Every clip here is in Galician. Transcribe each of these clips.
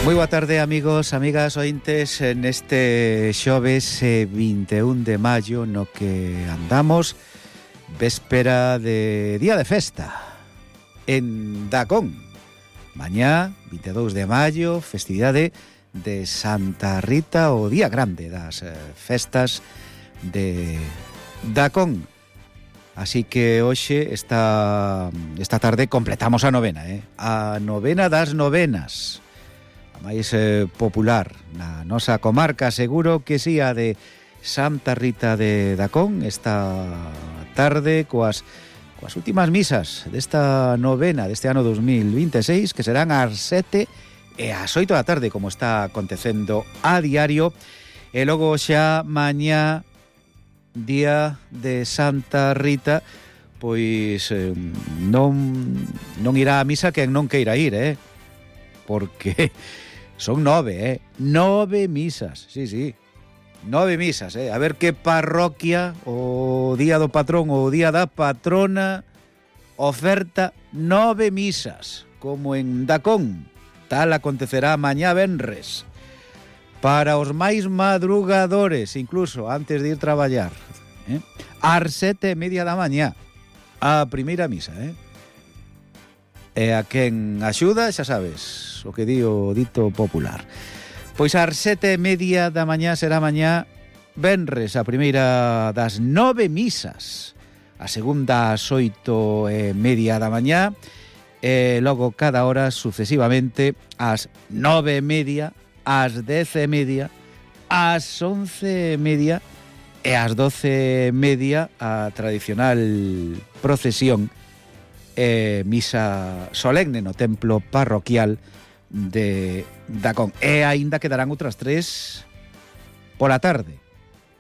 Moi boa tarde, amigos, amigas, ointes, neste xoves 21 de maio no que andamos véspera de día de festa en Dacón. Mañá, 22 de maio, festividade de Santa Rita, o día grande das festas de Dacón. Así que hoxe, esta tarde, completamos a novena, a novena das novenas. A máis popular na nosa comarca, seguro que sí, a de Santa Rita de Dacón, esta tarde coas últimas misas desta novena deste ano 2026, que serán ás 7 e ás 8 da tarde, como está acontecendo a diario. E logo xa mañá, día de Santa Rita, pois non irá a misa quen non queira ir, porque son 9, 9 misas, sí, 9 misas, a ver que parroquia o día do patrón ou o día da patrona oferta 9 misas, como en Dacón. Tal acontecerá mañá venres, para os máis madrugadores, incluso antes de ir traballar, ás 7:30 da mañá, a primeira misa, E a quen axuda, xa sabes, o que di o dito popular. Pois ás 7:30 da mañá será mañá venres, a primeira das 9 misas, a segunda ás 8:30 da mañá, e logo cada hora sucesivamente ás 9:30, ás 10:30, ás 11:30 e ás 12:30 a tradicional procesión misa solemne no templo parroquial de Dacón. E aínda quedarán outras 3 pola tarde,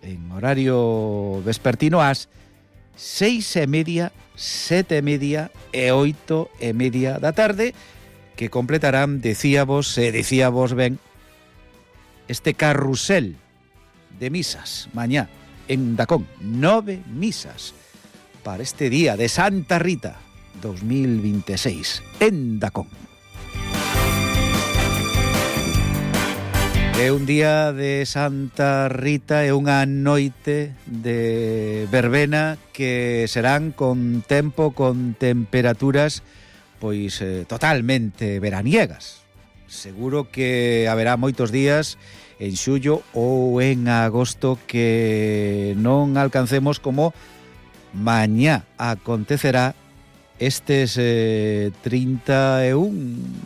en horario vespertino, ás 6:30, 7:30 e 8:30 da tarde, que completarán, dicíamos ben, este carrusel de misas mañá en Dacón. 9 misas para este día de Santa Rita 2026 en Dacón. É un día de Santa Rita e unha noite de verbena que serán con tempo, con temperaturas pois totalmente veraniegas. Seguro que haberá moitos días en xullo ou en agosto que non alcancemos, como mañá acontecerá, estes 31,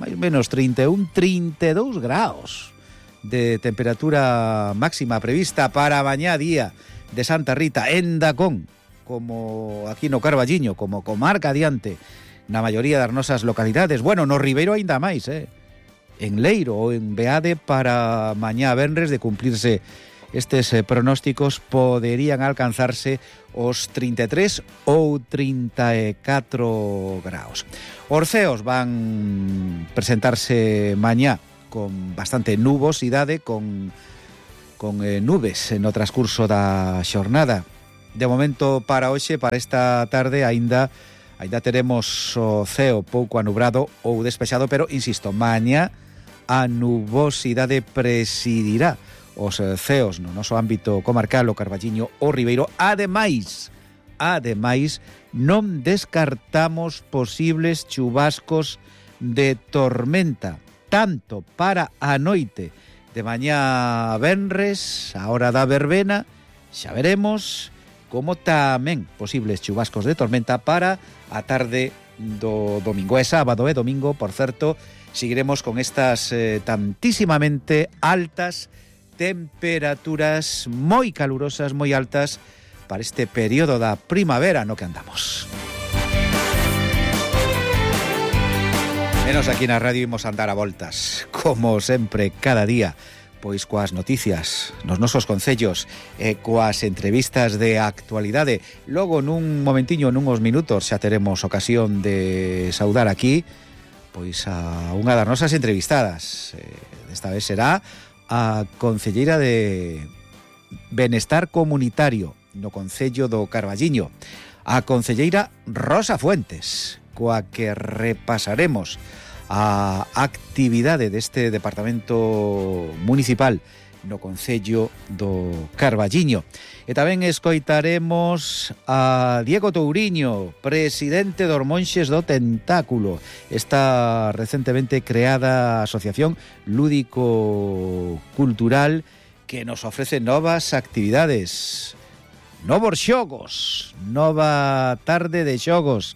máis ou menos 31, 32 graus de temperatura máxima prevista para mañá día de Santa Rita en Dacón, como aquí no Carballiño, como comarca adiante na maioría das nosas localidades. Bueno, no Ribeiro aínda máis, en Leiro ou en Beade, para mañá venres, de cumplirse estes pronósticos, poderían alcanzarse os 33 ou 34 graus. Os ceos van presentarse mañá con bastante nubosidade, con nubes no transcurso da xornada. De momento, para hoxe, para esta tarde, aínda teremos o ceo pouco anubrado ou despexado, pero, insisto, mañá a nubosidade presidirá os ceos no noso ámbito comarcal, o Carballiño, o Ribeiro. Ademais, non descartamos posibles chubascos de tormenta, tanto para a noite de mañá venres, a hora da verbena, xa veremos, como tamén posibles chubascos de tormenta para a tarde do domingo. E sábado e domingo, por certo, seguiremos con estas tantísimamente altas temperaturas, moi calurosas, moi altas, para este período da primavera no que andamos. Menos aquí na radio imos andar a voltas, como sempre, cada día, pois coas noticias nos nosos concellos e coas entrevistas de actualidade. Logo, nun momentiño, nunhos minutos, xa teremos ocasión de saudar aquí pois a unha das nosas entrevistadas. Desta vez será a concelleira de Benestar Comunitario no Concello do Carballiño, a concelleira Rosa Fuentes, coa que repasaremos a actividade deste departamento municipal no concello do Carballiño. E tamén escoitaremos a Diego Touriño, presidente dos Monxes do Tentáculo, esta recentemente creada asociación lúdico-cultural que nos ofrece novas actividades, novos xogos, nova tarde de xogos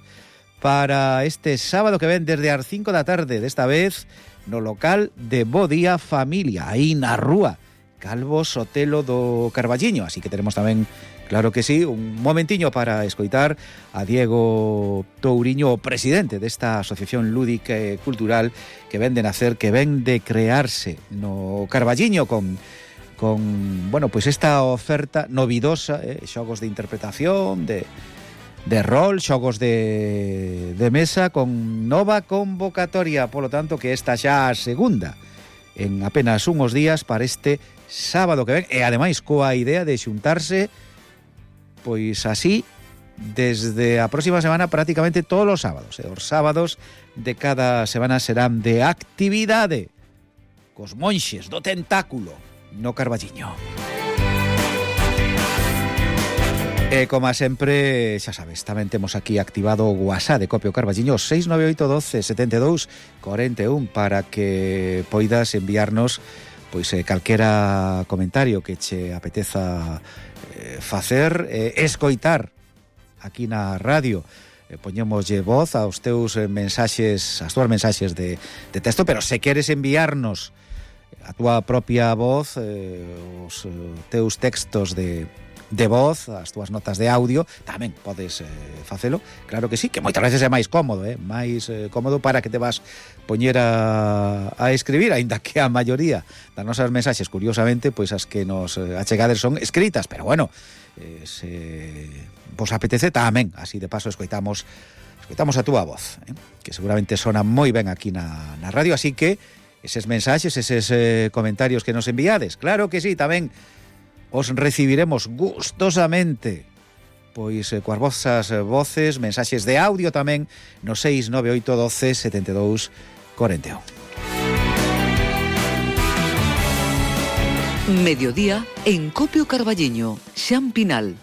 para este sábado que ven desde as 5 da tarde, desta vez no local de Bo Día Familia, aí na rúa Calvo Sotelo do Carballiño. Así que tenemos tamén, claro que sí, un momentiño para escoitar a Diego Touriño, o presidente desta asociación lúdica e cultural que ven de nacer, que ven de crearse no Carballiño con bueno, pues esta oferta novidosa, xogos de interpretación, de rol, xogos de mesa, con nova convocatoria, polo tanto que esta xa a segunda en apenas unhos días para este sábado que ven, e ademais coa idea de xuntarse pois así desde a próxima semana prácticamente todos os sábados. Os sábados de cada semana serán de actividade cos Monxes do Tentáculo no Carballiño. E como sempre, xa sabes, tamén temos aquí activado o WhatsApp de Copio Carballiño 698127241 para que poidas enviarnos pois calquera comentario que che apeteza facer, escoitar aquí na radio. Poñémoslle voz aos teus mensaxes, as túas mensaxes de texto, pero se queres enviarnos a túa propia voz, os teus textos de voz, as túas notas de audio, tamén podes facelo, claro que sí, que moitas veces é máis cómodo, máis cómodo para que te vas poñer a escribir, aínda que a maioría das nosas mensaxes, curiosamente, pois as que nos achegades son escritas, pero bueno, se vos apetece tamén, así de paso escoitamos a túa voz, que seguramente sona moi ben aquí na radio, así que eses mensaxes, eses comentarios que nos enviades, claro que sí, tamén os recibiremos gustosamente, pois coas vosas voces, mensaxes de audio tamén no 698127241. Mediodía en Copio Carballiño, Xan Pinal.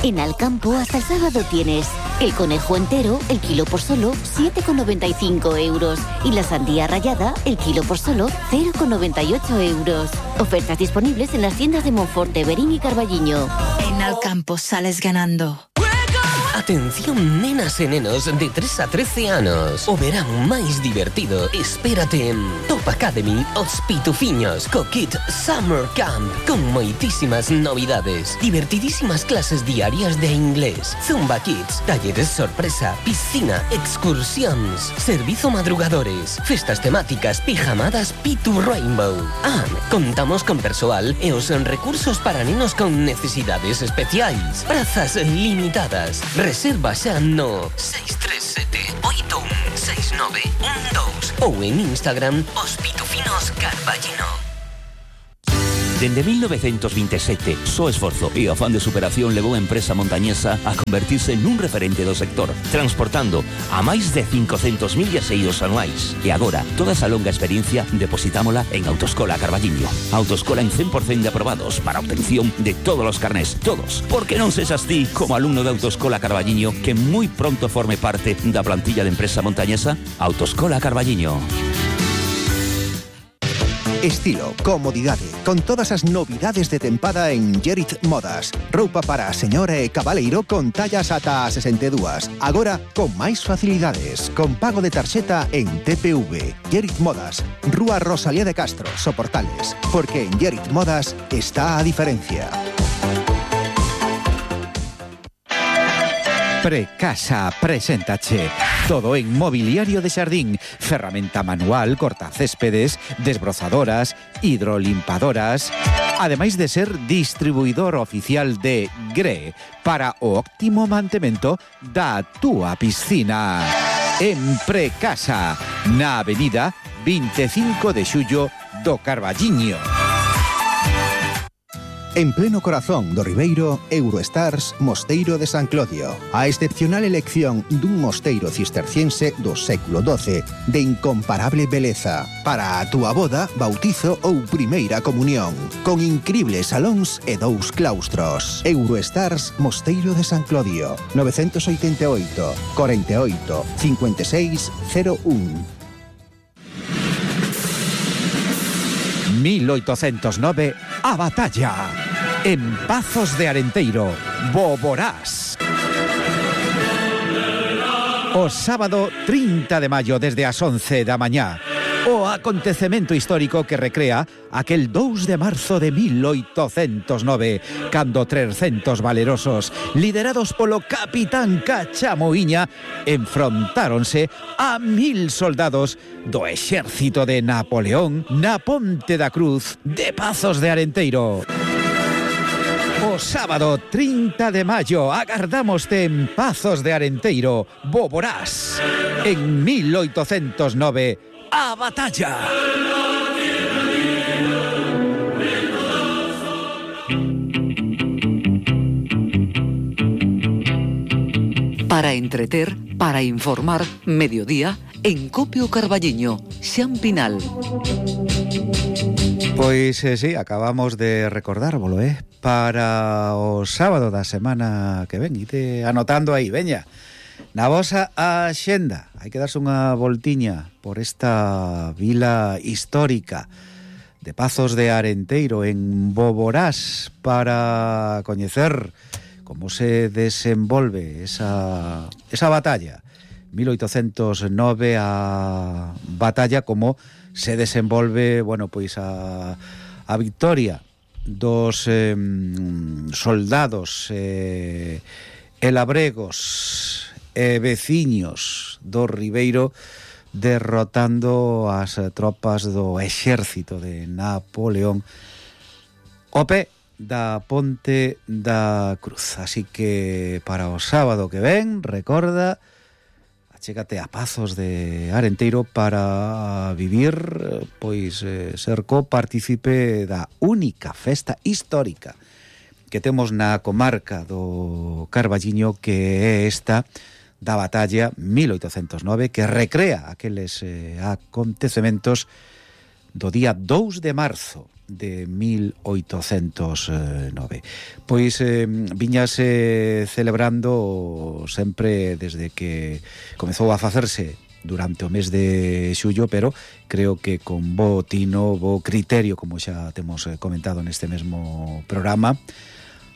En Alcampo hasta el sábado tienes el conejo entero, el kilo por solo 7,95 euros. Y la sandía rallada, el kilo por solo 0,98 euros. Ofertas disponibles en las tiendas de Monforte, Berín y Carballiño. En Alcampo sales ganando. Atención, nenas e nenos de 3 a 13 anos. O verán máis divertido espérate en Top Academy Os Pitufiños co Kit Summer Camp, con moitísimas novidades, divertidísimas clases diarias de inglés, Zumba Kids, talleres sorpresa, piscina, excursións, servizo madrugadores, festas temáticas, pijamadas Pitu Rainbow. Contamos con persoal e os recursos para nenos con necesidades especiais. Prazas limitadas. Reserva xa no 637816912 ou en Instagram Os Pitufinos Carballiño. Dende 1927, só esforzo e afán de superación levou a empresa montañesa a convertirse nun referente do sector, transportando a máis de 500.000 viaxeiros anuais. E agora, toda esa longa experiencia depositámola en Autoescola Carballiño. Autoescola en 100% de aprobados para obtención de todos os carnés, todos. Porque non sexas ti, como alumno de Autoescola Carballiño, que moi pronto forme parte da plantilla de empresa montañesa. Autoescola Carballiño. Estilo, comodidade, con todas as novidades de tempada en Gerit Modas. Roupa para a señora e cabaleiro con tallas ata 62. Agora, con máis facilidades, con pago de tarxeta en TPV. Gerit Modas, Rúa Rosalía de Castro, Soportales. Porque en Gerit Modas está a diferencia. Precasa preséntache todo en mobiliario de xardín, ferramenta manual, cortacéspedes, desbrozadoras, hidrolimpadoras, ademais de ser distribuidor oficial de GRE para o óptimo mantemento da túa piscina. En Precasa, na avenida 25 de Xullo do Carballiño. En pleno corazón do Ribeiro, Eurostars Mosteiro de San Clodio. A excepcional elección dun mosteiro cisterciense do século XII de incomparable beleza para a túa boda, bautizo ou primeira comunión, con incribles salóns e 2 claustros. Eurostars Mosteiro de San Clodio, 988 48 56 01. 1809, a batalla. En Pazos de Arenteiro, Boborás. O sábado 30 de maio desde as 11 da mañá. O acontecemento histórico que recrea aquel 2 de marzo de 1809, cando 300 valerosos, liderados polo capitán Cachamoiña, enfrontáronse a 1000 soldados do exército de Napoleón na Ponte da Cruz de Pazos de Arenteiro. O sábado 30 de maio agardámoste en Pazos de Arenteiro, Boborás. En 1809, a batalla. Para entreter, para informar, mediodía, en Copio Carballiño, Xampinal. Pois sí, acabamos de recordárvolo, para o sábado da semana que ven. Ite anotando aí, veña. Na vosa axenda, hai que darse unha voltiña por esta vila histórica de Pazos de Arenteiro en Boborás para coñecer como se desenvolve esa batalla. 1809, a batalla, como se desenvolve, bueno, pois a victoria dos soldados e labregos e veciños do Ribeiro, derrotando as tropas do exército de Napoleón o pé da Ponte da Cruz. Así que para o sábado que ven, recorda, achégate a Pazos de Arenteiro para vivir, pois, ser copartícipe da única festa histórica que temos na comarca do Carballiño, que é esta da batalla 1809, que recrea aqueles acontecementos do día 2 de marzo de 1809. Pois viñase celebrando sempre desde que comezou a facerse durante o mes de xullo, pero creo que con bo tino, bo criterio, como xa temos comentado neste mesmo programa,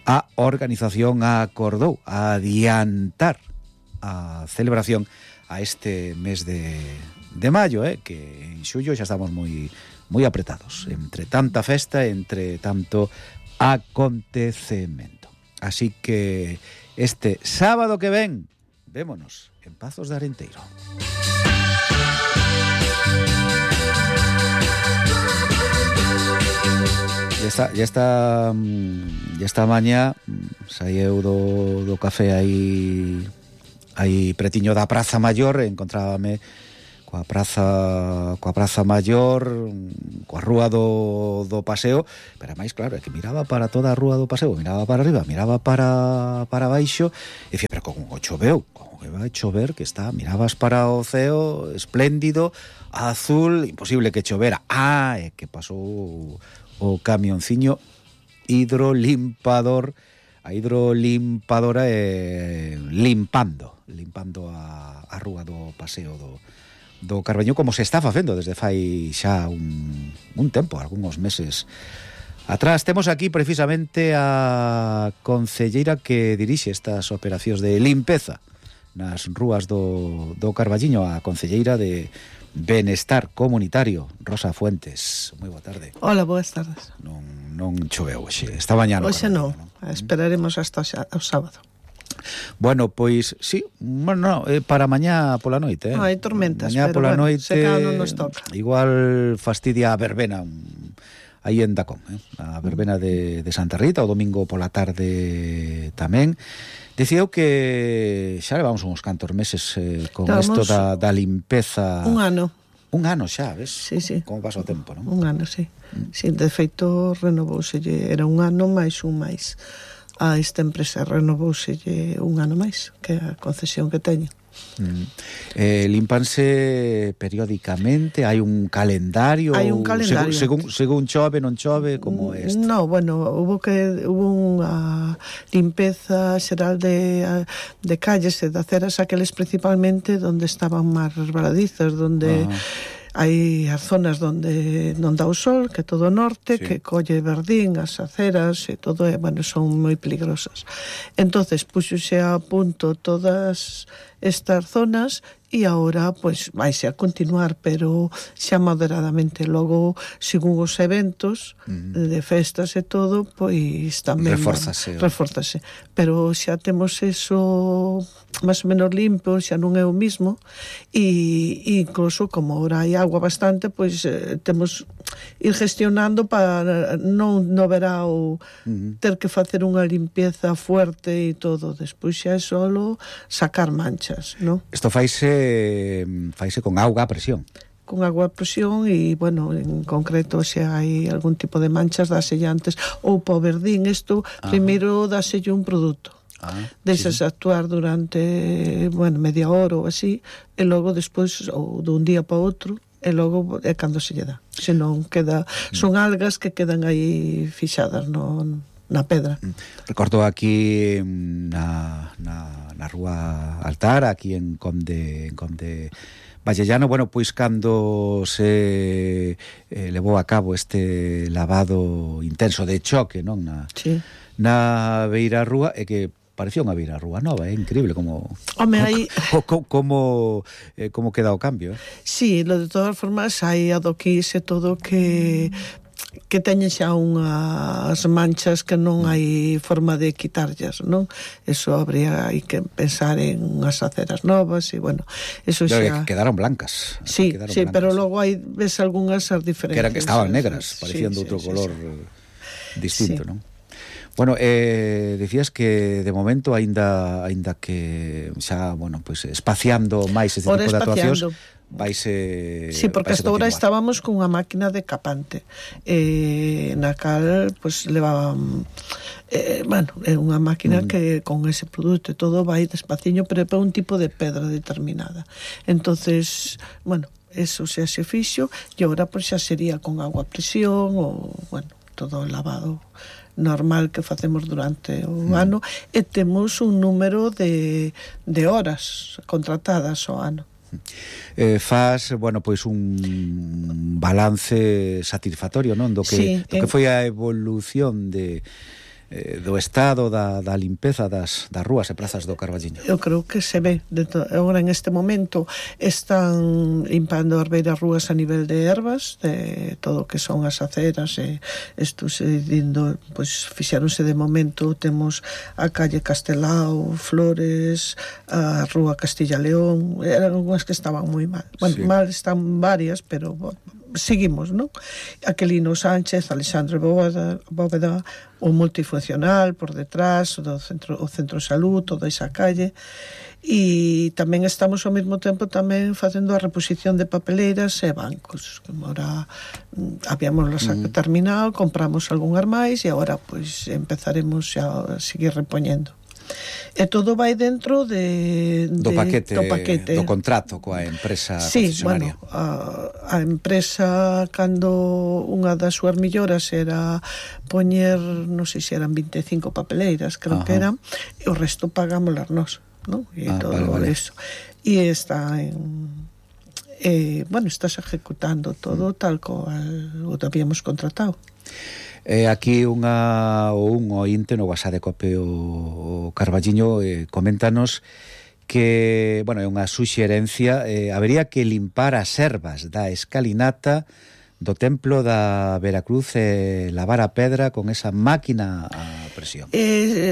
a organización acordou adiantar a celebración a este mes de maio, que en xullo xa estamos moi apretados, entre tanta festa, entre tanto acontecemento. Así que este sábado que ven, vémonos en Pazos de Arenteiro. Ya está mañá, saíeu do café aí pretiño da Praza Maior, encontrábame coa Praza Maior, coa rúa do Paseo, pero máis claro, é que miraba para toda a rúa do Paseo, miraba para arriba, miraba para baixo, e dicía, pero como choveu, como que vai chover, que está, mirabas para o ceo, espléndido, azul, imposible que chovera. É que pasou o camionciño hidrolimpador, a hidrolimpadora limpando a rúa do Paseo do Carballiño, como se está facendo desde fai xa un tempo, algúns meses atrás. Temos aquí precisamente a concelleira que dirixe estas operacións de limpeza nas rúas do Carballiño, a concelleira de Benestar Comunitario, Rosa Fuentes. Moi boa tarde. Hola, boas tardes. Non choveu hoxe, esta mañá hoxe non, esperaremos hasta o sábado. Bueno, pois, sí, bueno, para mañá pola noite, hai tormentas, mañá pero pola bueno, noite, se cada non nos toca. Igual fastidia a verbena aí en Dacón, a verbena de Santa Rita, o domingo pola tarde tamén. Dicía eu que xa levamos uns cantos meses con isto da limpeza. Un ano. Un ano xa, ves? Sí, sí. Como pasa o tempo, non? Un ano, sí. Sí, de feito, renovouselle, era un ano máis un máis. A esta empresa renovouselle un ano máis, que é a concesión que teño. Límpanse periódicamente, hai un calendario? Hai un calendario. Según chove, non chove, como é isto? No, bueno, hubo unha limpeza xeral de calles e de aceras, aqueles principalmente donde estaban máis resbaladizas, donde hai as zonas donde non dá o sol, que todo o norte, que colle verdín, as aceras e todo, bueno, son moi peligrosas. Entonces, puxose a punto todas estas zonas e agora, pois, vaise a continuar, pero xa moderadamente. Logo, según os eventos de festas e todo, pois tamén reforzase. Pero xa temos eso máis ou menos limpo, xa non é o mismo, e incluso, como agora hai agua bastante, pois temos ir gestionando para non no verao ter que facer unha limpieza fuerte e todo. Despois xa é solo sacar manchas, non? Isto faise con auga a presión. Con agua a presión e, bueno, en concreto, se hai algún tipo de manchas, dáselle antes, ou pa o verdín, isto, primeiro dáselle un produto. Deixas actuar durante, bueno, media hora ou así, e logo despois, ou dun día para outro, e logo é cando se lle dá. Se non queda, son algas que quedan aí fixadas na pedra. Recordo aquí na rúa Altar, aquí en Conde Vallellano, bueno, pois cando se levou a cabo este lavado intenso de choque, non? Na beira rúa, e que parecía unha beira rúa nova, é increíble como queda o cambio. Sí, de todas formas hai adoquís e todo que teñen xa unhas manchas que non hai forma de quitarllas, non? Eso habría que pensar en unhas aceras novas e, bueno, eso xa... Quedaron blancas. Sí, pero logo hai, ves algunhas as diferentes. Que estaban negras, parecían de outro color distinto, non? Bueno, decías que de momento aínda que xa, bueno, pues espaciando máis este tipo de actuacións, vaise... Sí, porque hasta ahora estábamos con unha máquina de capante, na cal, pues, levaban... bueno, é unha máquina que con ese produto e todo vai despaciño, pero é para un tipo de pedra determinada. Entonces, bueno, eso xa se fixo, e agora, pues, xa sería con agua a presión, ou, bueno, todo lavado normal que facemos durante o ano, e temos un número de horas contratadas ao ano. Faz, bueno, pois un balance satisfactorio, non? Do que foi a evolución do estado da limpeza das rúas e prazas do Carballiño. Eu creo que se ve. Agora, en este momento, están limpando as beiras rúas a nivel de ervas, de todo o que son as aceras, e isto se dindo, pois, fixáronse de momento, temos a calle Castelao, Flores, a rúa Castilla-León, eran unhas que estaban moi mal. Bueno, mal están varias, pero... seguimos, non? Aquelino Sánchez, Alexandre Bóveda, o multifuncional por detrás, o centro de salud, toda esa calle, e tamén estamos ao mesmo tempo tamén facendo a reposición de papeleiras e bancos, que agora habíamos terminado, compramos algunhas máis e agora pois empezaremos a seguir repoñendo. E todo vai dentro do paquete do contrato coa empresa Sí, concesionaria. bueno, a empresa, cando unha das súas melloras era poñer, non sei se eran 25 papeleiras, creo que eran, e o resto pagámoslas nós, non? E todo eso. E está bueno, estás ejecutando todo tal cual o habíamos contratado. Aquí un ointe no WhatsApp de Cope o Carballiño coméntanos que, bueno, é unha suxerencia, habería que limpar as ervas da escalinata do templo da Veracruz e lavar a pedra con esa máquina a presión.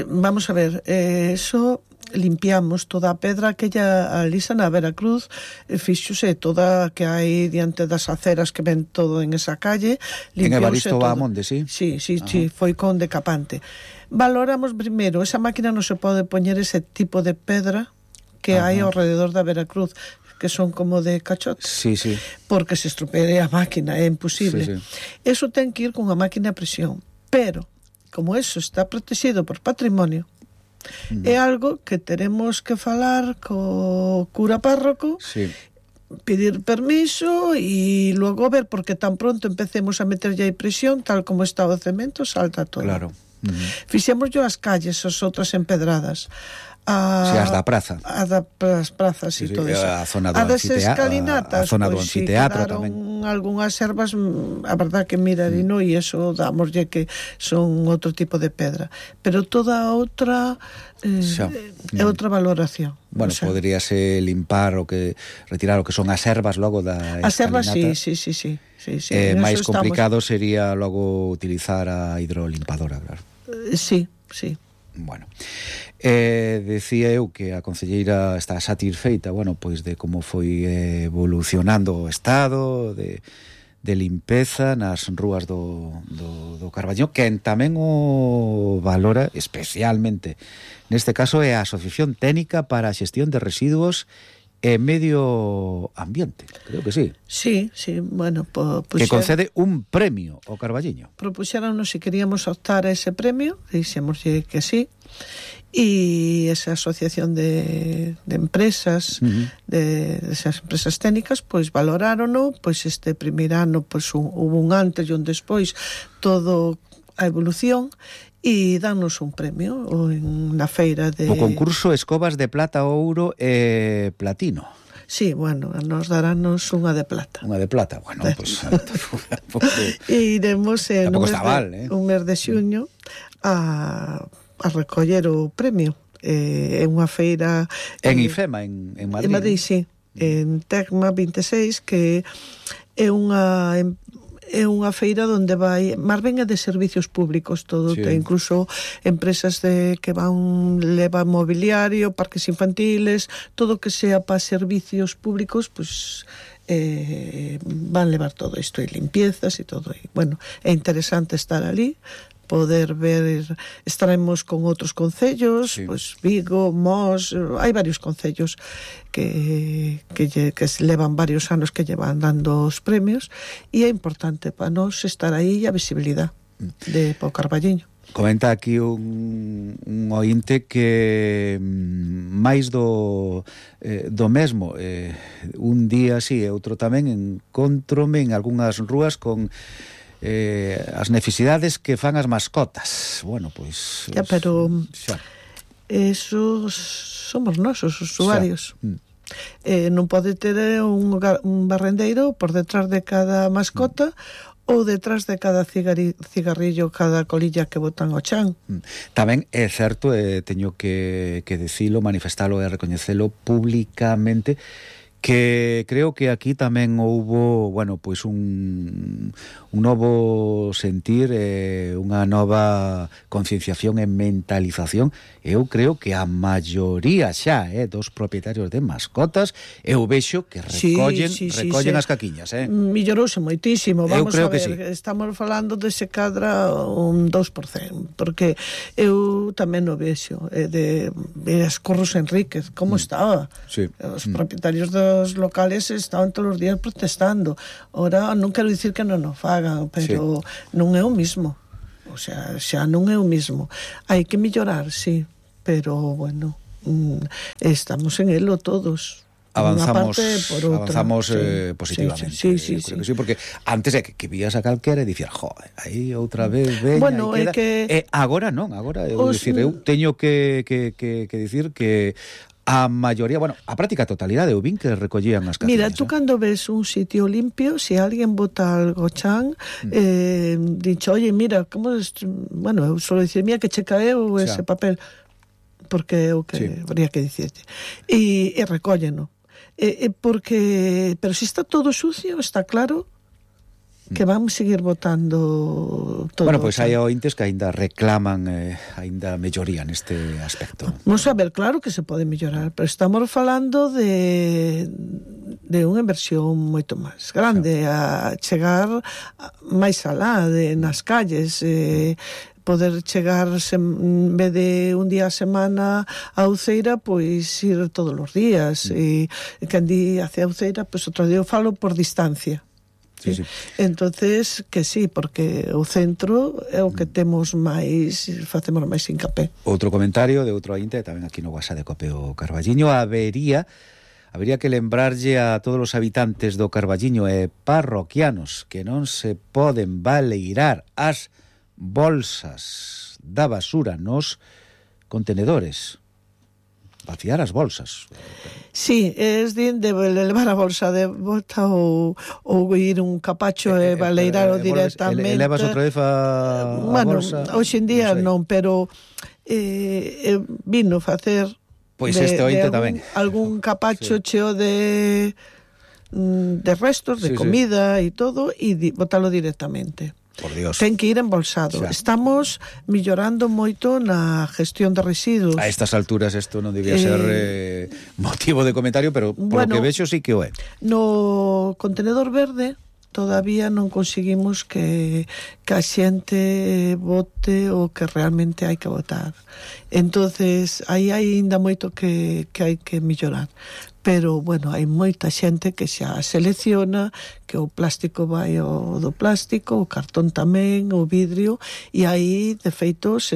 Vamos a ver, eso... limpiamos toda a pedra aquella alisa na Veracruz, fixose toda que hai diante das aceras que ven todo en esa calle, en Evaristo Bahamonde, sí? Sí, foi con decapante. Valoramos primeiro, esa máquina non se pode poñer ese tipo de pedra que hai ao rededor da Veracruz, que son como de cachote. Sí, sí. Porque se estropee a máquina, é imposible. Sí, sí. Eso ten que ir con a máquina a presión. Pero, como eso está protegido por patrimonio, é algo que teremos que falar co cura párroco, Sí. pedir permiso e logo ver, porque tan pronto empecemos a meterlle aí presión, tal como está o cemento, salta todo. Claro. Fixemos yo as calles, as outras empedradas. Sí, as da praza. As das prazas Sí, e todo eso. a zona do a das a escalinatas, zona do pois, si anfiteatro quedaron tamén. algunhas ervas, a verdad que mirarino, e eso dámoslle que son outro tipo de pedra. Pero toda a outra é outra valoración. Bueno, poderíase limpar retirar o que son as ervas logo da escalinata. As ervas, sí. Máis complicado sería logo utilizar a hidrolimpadora, claro. Sí. Bueno, decía eu que a concelleira está satisfeita, bueno, pois de como foi evolucionando o estado de limpeza nas rúas do Carballiño, que tamén o valora especialmente. Neste caso é a Asociación Técnica para a Xestión de Residuos e Medio Ambiente, creo que sí. Sí, bueno, que concede un premio ao Carballiño. Propuxéronos se queríamos optar a ese premio, dixémoslle que sí, e esa asociación de empresas, de esas empresas técnicas, pois valorárono, pois este primeiro ano pois hubo un antes e un despois, todo a evolución, e danos un premio na feira de... O concurso Escobas de Plata, Ouro e Platino. Sí, bueno, nos darános unha de plata. Unha de plata, bueno, pois... E iremos un mes de xuño a recoller o premio. É unha feira... En IFEMA, en Madrid. En Madrid, sí. En Tecma 26, que é unha feira onde vai, máis ben é de servicios públicos todo, sí. Incluso empresas que levan mobiliario, parques infantiles, todo que sea para servicios públicos, pues van levar todo isto, e limpiezas e todo. E, bueno, é interesante estar ali, poder ver, estaremos con outros concellos, sí. Pues Vigo, Mos, hai varios concellos que levan varios anos que llevan dando os premios, e é importante para nós estar aí e a visibilidade de Pau Carballiño. Comenta aquí un ointe que máis do mesmo, un día sí e outro tamén encontrome en algunhas rúas con as necesidades que fan as mascotas. Bueno, pois... Ya, pero esos somos nosos usuarios. Non pode ter un barrendeiro por detrás de cada mascota ou detrás de cada cigarrillo, cada colilla que botan ao chan. Tamén é certo, teño que dicilo, manifestalo e recoñecelo públicamente, que creo que aquí tamén houbo, bueno, pois un novo sentir, unha nova concienciación e mentalización. Eu creo que a maioría xa dos propietarios de mascotas, eu vexo que recollen as caquiñas. Mellorouse moitísimo, vamos a ver, sí. Estamos falando de se cadra un 2%, porque eu tamén o vexo, de as Corros Enríquez, como estaba. Sí. Os propietarios dos locales estaban todos os días protestando. Ora, non quero dicir que non o fagan, pero non é o mismo. O sea, xa non é o mismo. Hai que mellorar, sí, pero bueno, estamos en elo todos. Avanzamos positivamente. Sí. Creo que sí, porque antes que vías a calquera e dicías, aí outra vez veña, bueno, queda. Que... agora non, agora eu teño que dicir que a maioría, bueno, a práctica totalidade eu vin que recollían as caciñas. Mira, tú cando ves un sitio limpio, se alguén bota algo chan, dicho, oye, mira, como bueno, eu solo dicir, mira que che caeu ese papel, porque é o que habría que dicirte. E recólleno. Porque, pero se está todo sucio, está claro que van seguir votando todo. Bueno, pois hai ointes que aínda reclaman aínda melloría neste aspecto. Vamos a ver, claro que se pode mellorar, pero estamos falando de unha inversión moito máis grande, a chegar máis alá nas calles, poder chegar en vez de un día a semana a Uceira, pois ir todos os días. E quen di hacia Uceira, pois outro día eu falo por distancia. Sí, sí. Entonces, que sí, porque o centro é o que temos máis, facemos máis hincapé. Outro comentario de outro ointe, tamén aquí no WhatsApp de Copeo Carballiño, habería que lembrarlle a todos os habitantes do Carballiño e parroquianos que non se poden baleirar as bolsas da basura nos contenedores. Vaciar as bolsas. Sí, es de levar a bolsa de volta ou ir un capacho e baleirar directamente. Levas outra vez a bolsa? Bueno, hoxe en día non, pero vino facer pois este ointe tamén algún capacho cheo de restos, de comida e todo, e botalo directamente. Por Dios. Ten que ir embolsado. Estamos mellorando moito na gestión de residuos. A estas alturas isto non debía ser motivo de comentario, pero por lo que vexo sí que o é. No contenedor verde todavía non conseguimos que a xente vote o que realmente hai que votar. Entonces, aí hai ainda moito que hai que mellorar. Pero, bueno, hai moita xente que xa selecciona que o plástico vai ao do plástico, o cartón tamén, o vidrio, e aí, de feito, se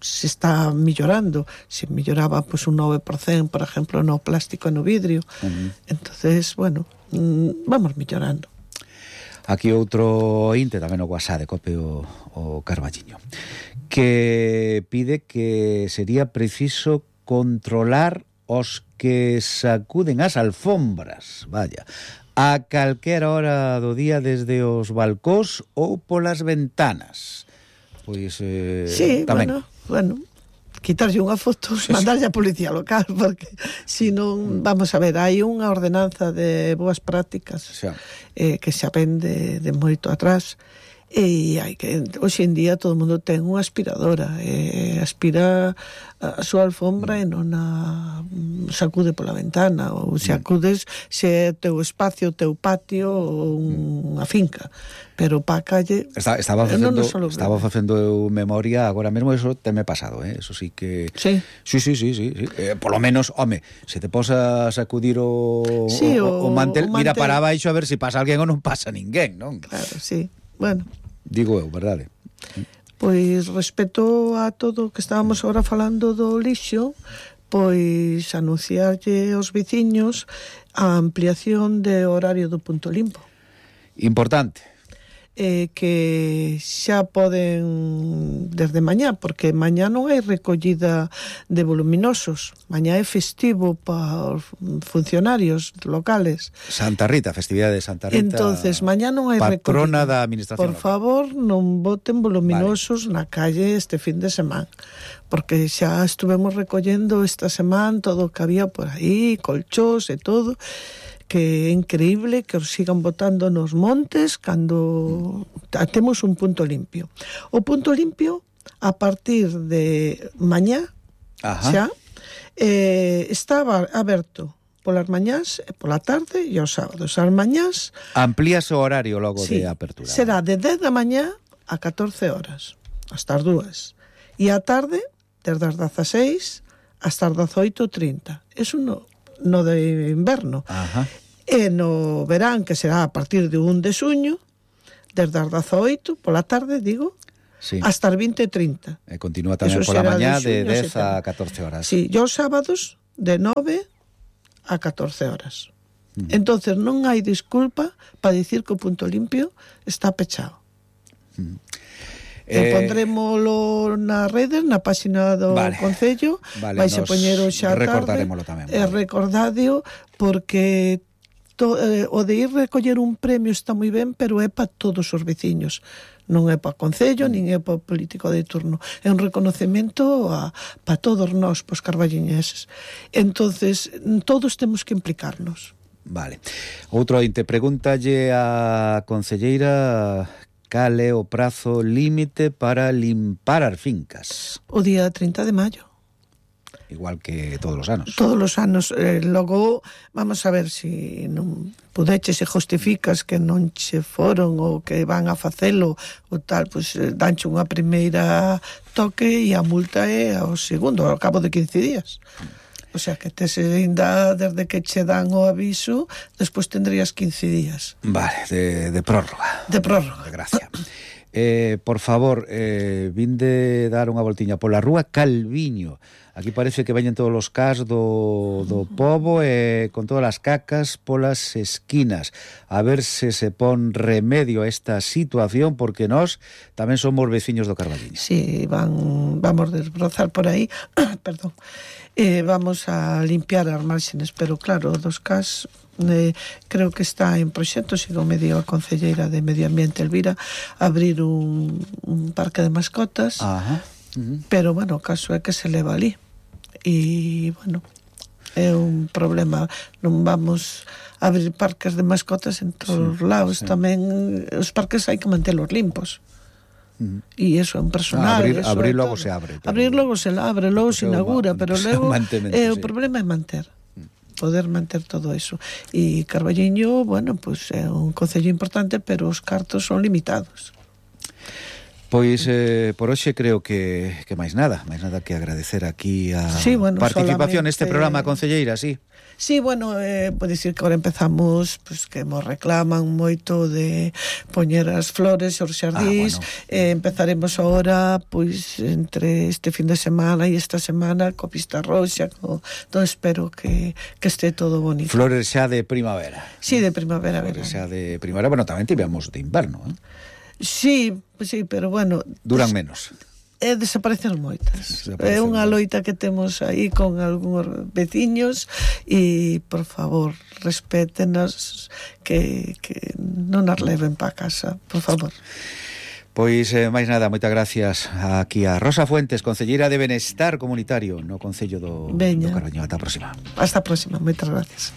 está mellorando. Se melloraba pues, un 9%, por exemplo, no plástico e no vidrio. Entonces, bueno, vamos mellorando. Aquí outro inte, tamén o WhatsApp de Copeo o Carballiño, que pide que sería preciso controlar os que sacuden as alfombras, vaya, a calquera hora do día desde os balcós ou polas ventanas. Pois sí, tamén. Bueno, quitarlle unha foto, mandarlle a policía local, porque si non, vamos a ver, hai unha ordenanza de boas prácticas que xa ven de moito atrás, e hai que, hoxe en día todo o mundo ten unha aspiradora, aspira a súa alfombra e non a sacude pola ventana, ou se acudes se é teu espacio, teu patio ou unha finca, pero pa calle estaba facendo eu memoria agora mesmo, eso teme pasado, eso sí que sí. Polo menos, home, se te posa a sacudir o mantel, mira para baixo a ver se pasa alguén ou non pasa ninguén, non? Claro, sí. Bueno, digo eu, verdade? Pois respecto a todo o que estábamos agora falando do lixo, pois anunciarlle aos veciños a ampliación de horario do punto limpo. Importante. Que xa poden desde mañá, porque mañá non hai recollida de voluminosos, mañá é festivo para os funcionarios locales. Santa Rita, festividade de Santa Rita. Entonces, mañá non hai patrona recollida. Da administración. Por favor, non boten voluminosos na calle este fin de semana, porque xa estuvemos recollendo esta semana todo o que había por aí, colchós e todo, que é increíble que os sigan botando nos montes cando temos un punto limpio. O punto limpio, a partir de mañá, xa, está aberto polas mañás, pola tarde e os sábados. As mañás... Amplíase o horario logo de apertura. Será de 10 da mañá a 14 horas, hasta as 2. E a tarde, desde as 16 hasta as 18:30. Eso no de inverno. E no verán, que será a partir de 1 de xuño, desde as 18 pola tarde, digo, hasta as 20:30. E continúa tamén pola mañá de 10 a 14 horas. Sí, e os sábados de 9 a 14 horas. Entonces non hai disculpa para dicir que o punto limpio está pechado. Pondrémolo na rede, na página do Concello, vai se poñer o xa tarde, recordadio, porque o de ir recoller un premio está moi ben, pero é para todos os veciños, non é para o Concello, nin é para o político de turno, é un reconocemento para todos nós, para os carballiñeses. Entonces, todos temos que implicarnos. Vale. Outro ointe, pregúntalle a concelleira cal é o prazo límite para limpar as fincas. O día 30 de maio. igual que todos os anos. Todos os anos. Logo, vamos a ver se non pudeches e justificas que non che foron ou que van a facelo ou tal, pois danche unha primeira toque e a multa é ao segundo, ao cabo de 15 días. O sea, que tes ainda desde que che dan o aviso, despois tendrías 15 días. Vale, de prórroga. De prórroga. De gracia. Por favor, vinde dar unha voltiña pola rúa Calviño. Aquí parece que veñen todos os cas do pobo con todas as cacas polas esquinas. A ver se pon remedio a esta situación, porque nós tamén somos veciños do Carballiño. Sí, vamos desbrozar por aí, perdón. Vamos a limpiar as márgenes, pero claro, dos cas creo que está en proxecto, sigo me dio a concelleira de Medio Ambiente Elvira, abrir un parque de mascotas. Ajá. Pero bueno, o caso é que se leva ali e bueno, é un problema. Non vamos a abrir parques de mascotas en todos os lados. Tamén os parques hai que mantelos limpos. E eso é un personal. Abrir logo se abre. Abrir logo se abre, logo se inaugura, pero logo o problema é manter. Poder manter todo eso. E Carballiño, bueno, pues é un concello importante, pero os cartos son limitados. Pois por hoxe creo que máis nada que agradecer aquí a participación neste programa, concelleira, sí. Sí, bueno, pode dicir que agora empezamos, pues, que nos reclaman moito de poñer as flores os xardís. Empezaremos agora, pois, entre este fin de semana e esta semana, co Pista Roxa, todo, espero que este todo bonito. Flores xa de primavera. Sí, de primavera, flores xa de primavera, bueno, tamén tivemos de inverno, Sí, pero bueno, duran menos. Desaparecen moitas. É unha loita que temos aí con algúns veciños e, por favor, respétenos, que non as leven para casa, por favor. Pois, máis nada, moitas gracias aquí a Rosa Fuentes, concelleira de Benestar Comunitario no Concello do Carballiño. Ata a próxima. Hasta a próxima, moitas gracias.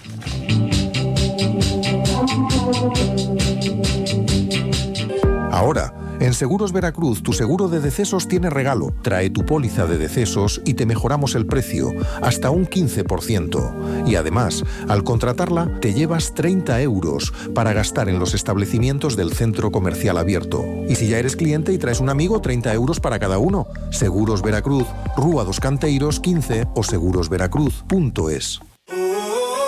Ahora, en Seguros Veracruz, tu seguro de decesos tiene regalo. Trae tu póliza de decesos y te mejoramos el precio, hasta un 15%. Y además, al contratarla, te llevas 30 euros para gastar en los establecimientos del centro comercial abierto. Y si ya eres cliente y traes un amigo, 30 euros para cada uno. Seguros Veracruz, Rúa dos Canteiros 15 o segurosveracruz.es.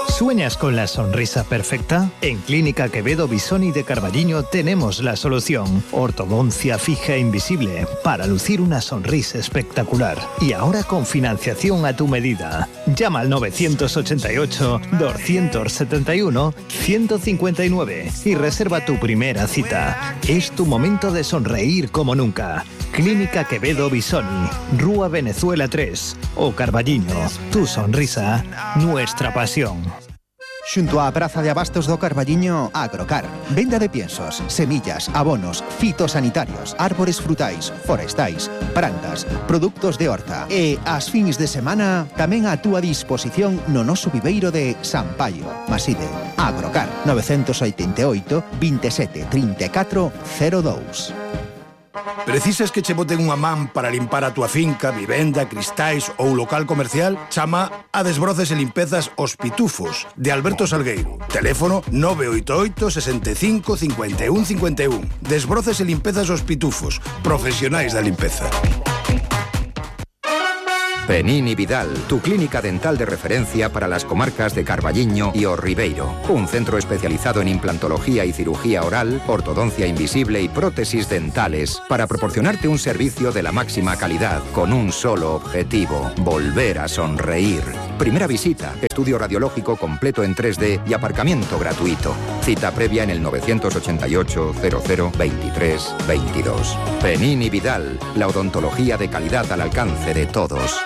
¿Sueñas con la sonrisa perfecta? En Clínica Quevedo Bisoni de Carballiño tenemos la solución. Ortodoncia fija e invisible para lucir una sonrisa espectacular. Y ahora con financiación a tu medida. Llama al 981-271-159 y reserva tu primera cita. Es tu momento de sonreír como nunca. Clínica Quevedo Bisoni, Rúa Venezuela 3 o Carballiño. Tu sonrisa, nuestra pasión. Xunto á Praza de Abastos do Carballiño, Agrocar. Venda de piensos, semillas, abonos, fitosanitarios, árbores frutais, forestais, plantas, produtos de horta. E as fins de semana tamén a túa disposición no noso viveiro de San Paio. Maside, Agrocar, 988 27 34 02. Precisas que che boten unha man para limpar a túa finca, vivenda, cristais ou local comercial? Chama a Desbroces e Limpezas Os Pitufos, de Alberto Salgueiro. Teléfono 988 65 51 51. Desbroces e Limpezas Os Pitufos, profesionais da limpeza. Penini Vidal, tu clínica dental de referencia para las comarcas de Carballiño y O Ribeiro. Un centro especializado en implantología y cirugía oral, ortodoncia invisible y prótesis dentales para proporcionarte un servicio de la máxima calidad con un solo objetivo: volver a sonreír. Primera visita, estudio radiológico completo en 3D y aparcamiento gratuito. Cita previa en el 988 00 23 22. Penini Vidal, la odontología de calidad al alcance de todos.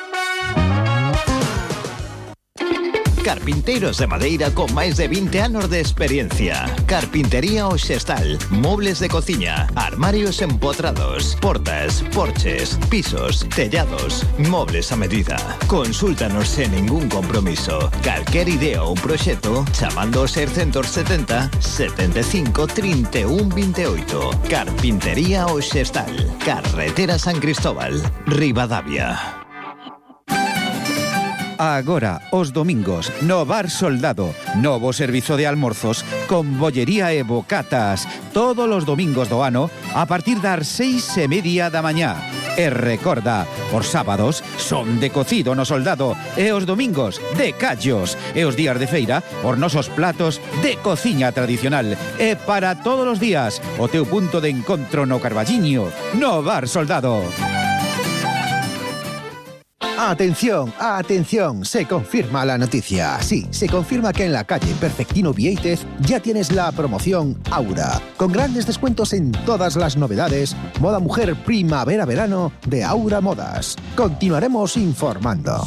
Carpinteiros de madeira con máis de 20 anos de experiencia. Carpintería Oxestal, mobles de cociña, armarios empotrados, portas, porches, pisos, tellados, mobles a medida. Consúltanos sen ningún compromiso. Calquer idea ou proxecto chamando ao 670 75 31 28. Carpintería Oxestal, Carretera San Cristóbal, Ribadavia. Agora, os domingos, no Bar Soldado, novo servizo de almorzos con bollería e bocatas, todos os domingos do ano a partir das 6:30 da mañá. E recorda, os sábados son de cocido no Soldado e os domingos de callos e os días de feira os nosos platos de cociña tradicional. E para todos os días, o teu punto de encontro no Carballiño, no Bar Soldado. ¡Atención! ¡Atención! Se confirma la noticia. Sí, se confirma que en la calle Perfectino Viéitez ya tienes la promoción Aura, con grandes descuentos en todas las novedades, moda mujer primavera-verano de Aura Modas. Continuaremos informando.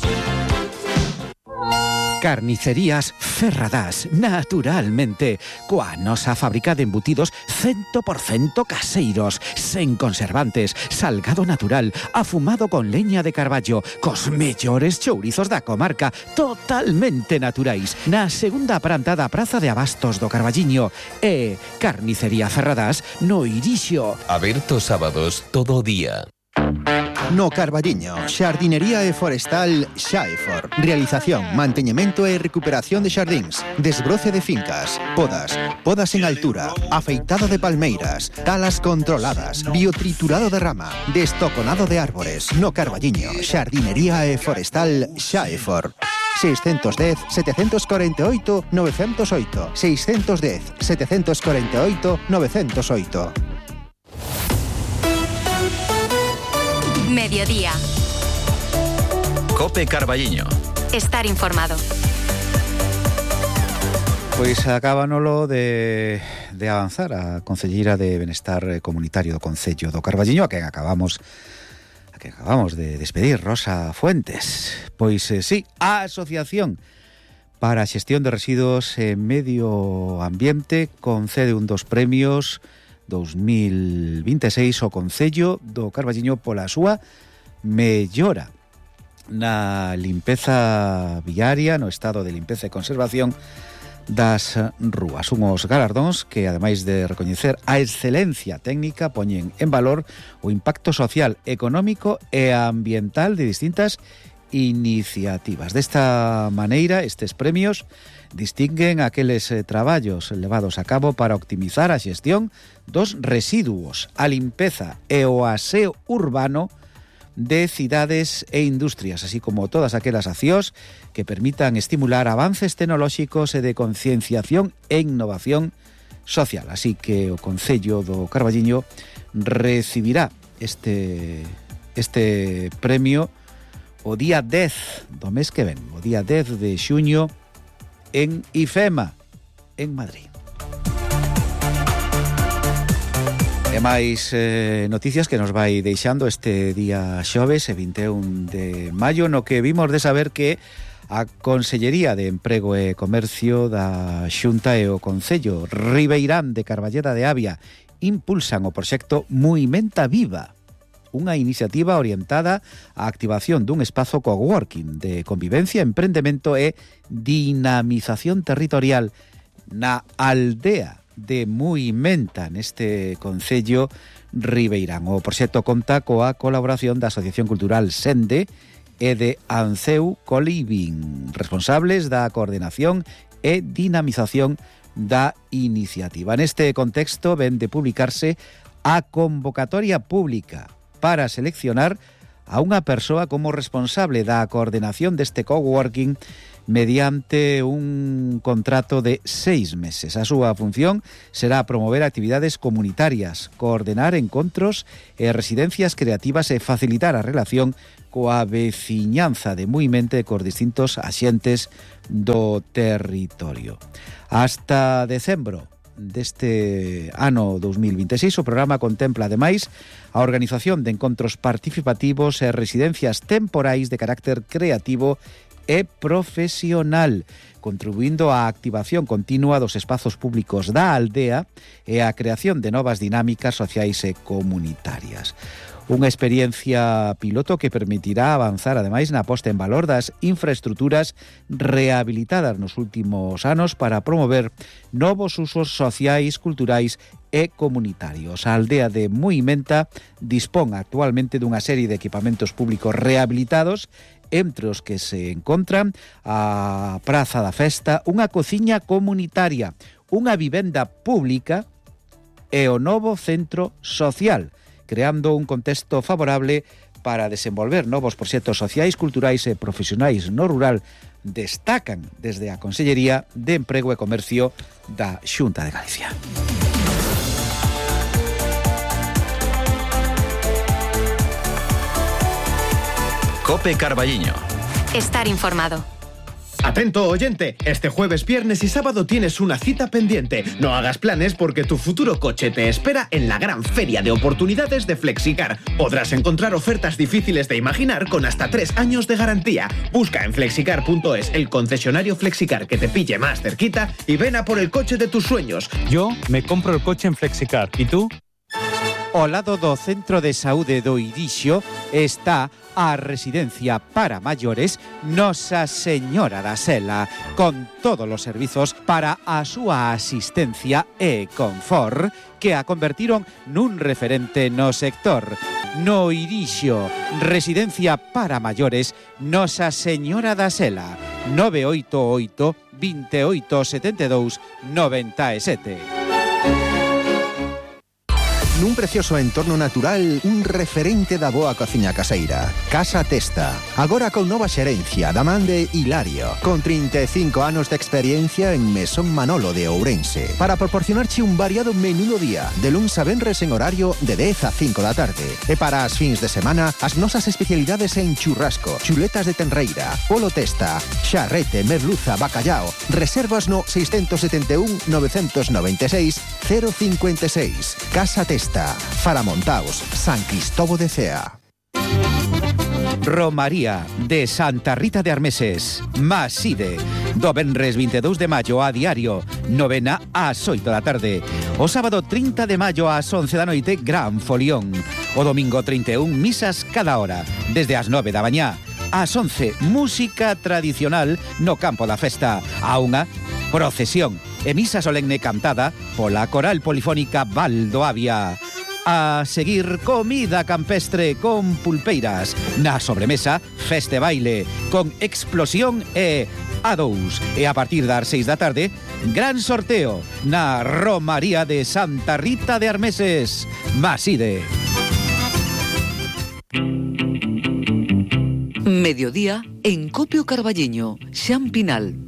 Carnicerías Ferradás, naturalmente, coa nosa fábrica de embutidos 100% caseiros, sen conservantes, salgado natural, afumado con leña de carballo, cos mellores chourizos da comarca, totalmente naturais, na segunda planta da Praza de Abastos do Carballiño. E Carnicería Ferradás no Irixo. Aberto sábados todo o día. No Carballiño, Xardinería e Forestal Xaefor. Realización, manteñemento e recuperación de xardíns, desbroce de fincas, podas en altura, afeitado de palmeiras, talas controladas, biotriturado de rama, destoconado de árbores. No Carballiño, Xardinería e Forestal Xaefor. 610 748 908 610 748 908. Mediodía. Cope Carballiño. Estar informado. Pois acábanolo de avanzar a Concelleira de Benestar Comunitario do Concello do Carballiño, a quen acabamos de despedir, Rosa Fuentes. Pois sí, a Asociación para a Xestión de Residuos e Medio Ambiente concede un dos premios 2026 ao Concello do Carballiño pola súa mellora na limpeza viaria, no estado de limpeza e conservación das rúas. Unhos galardóns que, ademais de recoñecer a excelencia técnica, poñen en valor o impacto social, económico e ambiental de distintas iniciativas. Desta maneira, estes premios distinguen aqueles traballos levados a cabo para optimizar a xestión dos residuos, a limpeza e o aseo urbano de cidades e industrias, así como todas aquelas accións que permitan estimular avances tecnolóxicos e de concienciación e innovación social. Así que o Concello do Carballiño recibirá este premio o día 10 do mes que ven, o día 10 de xuño, en IFEMA, en Madrid. E máis noticias que nos vai deixando este día xoves, 21 de maio, no que vimos de saber que a Consellería de Emprego e Comercio da Xunta e o Concello Ribeirán de Carballeda de Avia impulsan o proxecto Movimenta Viva, unha iniciativa orientada á activación dun espazo coworking de convivencia, emprendemento e dinamización territorial na aldea de Muimenta, neste concello ribeirán. O proxecto conta coa colaboración da Asociación Cultural Sende e de Anceu Coliving, responsables da coordinación e dinamización da iniciativa. Neste contexto ven de publicarse a convocatoria pública para seleccionar a unha persoa como responsable da coordenación deste coworking mediante un contrato de 6 meses. A súa función será promover actividades comunitarias, coordenar encontros e residencias creativas e facilitar a relación coa veciñanza de Muimente cos distintos axentes do territorio. Hasta decembro deste ano 2026, o programa contempla, ademais, a organización de encontros participativos e residencias temporais de carácter creativo e profesional, contribuindo á activación continua dos espazos públicos da aldea e á creación de novas dinámicas sociais e comunitarias. Unha experiencia piloto que permitirá avanzar, ademais, na posta en valor das infraestruturas rehabilitadas nos últimos anos para promover novos usos sociais, culturais e comunitarios. A aldea de Muimenta dispón actualmente dunha serie de equipamentos públicos rehabilitados entre os que se encontran a Praza da Festa, unha cociña comunitaria, unha vivenda pública e o novo centro social, creando un contexto favorable para desenvolver novos proxectos sociais, culturais e profesionais no rural, destacan desde a Consellería de Emprego e Comercio da Xunta de Galicia. COPE Carballiño. Estar informado. Atento oyente, este jueves, viernes y sábado tienes una cita pendiente. No hagas planes porque tu futuro coche te espera en la gran feria de oportunidades de Flexicar. Podrás encontrar ofertas difíciles de imaginar con hasta 3 años de garantía. Busca en flexicar.es el concesionario Flexicar que te pille más cerquita y ven a por el coche de tus sueños. Yo me compro el coche en Flexicar. ¿Y tú? Ao lado do Centro de Saúde do Irixo está a residencia para maiores Nosa Señora da Sela, con todos os servizos para a súa asistencia e confort que a convertiron nun referente no sector. No Irixo, residencia para maiores Nosa Señora da Sela, 988 28 72 97. Nun precioso entorno natural, un referente da boa cociña caseira. Casa Testa. Agora con nova xerencia da man de Hilario, con 35 anos de experiencia en Mesón Manolo de Ourense, para proporcionarche un variado menú do día, de luns a venres en horario de 10 a 5 da tarde. E para as fins de semana, as nosas especialidades en churrasco, chuletas de tenreira, polo testa, xarrete, merluza, bacallao. Reservas no 671 996 056. Casa Testa. Faramontaos, San Cristobo de Cea. Romaría de Santa Rita de Armeses, Maside, do venres 22 de maio a diario, novena ás 8 da tarde. O sábado 30 de maio ás 11 da noite, gran folión. O domingo 31, misas cada hora, desde as 9 da mañá. Ás 11, música tradicional no campo da festa. A unha, procesión e misa solemne cantada pola coral polifónica Valdo Avia. A seguir, comida campestre con pulpeiras. Na sobremesa, feste baile con explosión e A2. E a partir das 6 da tarde, gran sorteo na Romaría de Santa Rita de Armeses, Maside. Mediodía en Copio Carballiño, Xan Pinal.